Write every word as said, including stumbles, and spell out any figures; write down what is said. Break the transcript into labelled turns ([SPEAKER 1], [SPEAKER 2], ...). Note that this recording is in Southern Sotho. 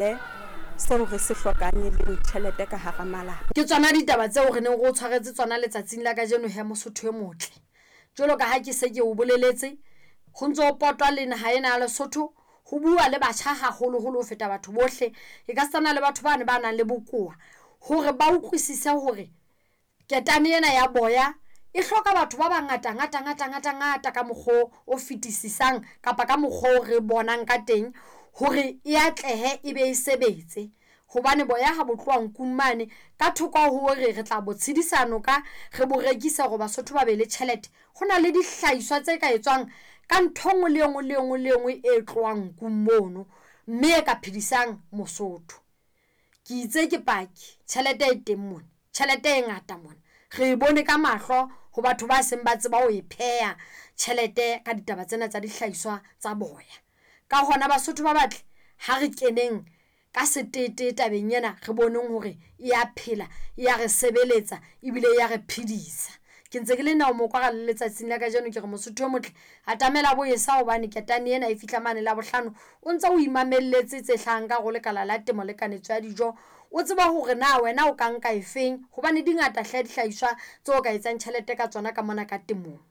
[SPEAKER 1] Seo re se hlokang e leng tjhelete ka hara malapa.
[SPEAKER 2] Ke tsona ditaba tseo re neng re o tshwaretse tsona letsatsing la kajeno he Mosotho e motle. Jwalo ka ha ke se ke o boleletse, ho ntso potwa le naha ena ya Lesotho. Ho bua le batjha haholoholo ho feta batho bohle. E ka sitana le batho bane ba nang le bokowa hore ba utlwisise hore ketane ena ya boya e hloka batho ba bangata ngata ngata ngata ngata ka mokgo o fetisisang kapa ka mokgwa o re bonang ka teng hore e atlehe e be e sebetse. Hobane boya ha bo tloha nkung mane ka thoko hore re tla bo tshedisa noka, re bo rekisa hore Basotho ba be le tjhelete. Hona le dihlahiswa tse ka etswang ka ntho engwe le engwe le engwe le engwe e tlohang nkung mono, mme e ka phedisang Mosotho. Ke itse ke paki tjhelete e teng mona, tjhelete e ngata mona. Re bone ka mahlo ho batho ba seng ba tseba ho e pheha tjhelete ka ditaba tsena tsa dihlahiswa tsa boya. Ka hona Basotho ba batle ha re keneng ka setete tabeng ena re boneng hore e ya phela, e ya re sebeletsa ebile ya re phedisa. Ke ntse ke le Neo Mokwara le letsatsing la kajeno ke re Mosotho o motle atamela boesa hobane ketane ena e fihla mane Labohlano. O ntso o imamelletse tse hlahang ka hare ho lekala la temo le kanetso ya dijo. O tsebe hore na wena o ka nka e feng hobane di ngata hle dihlahiswa tseo ka etsang tjhelete ka tsona ka mona ka temong.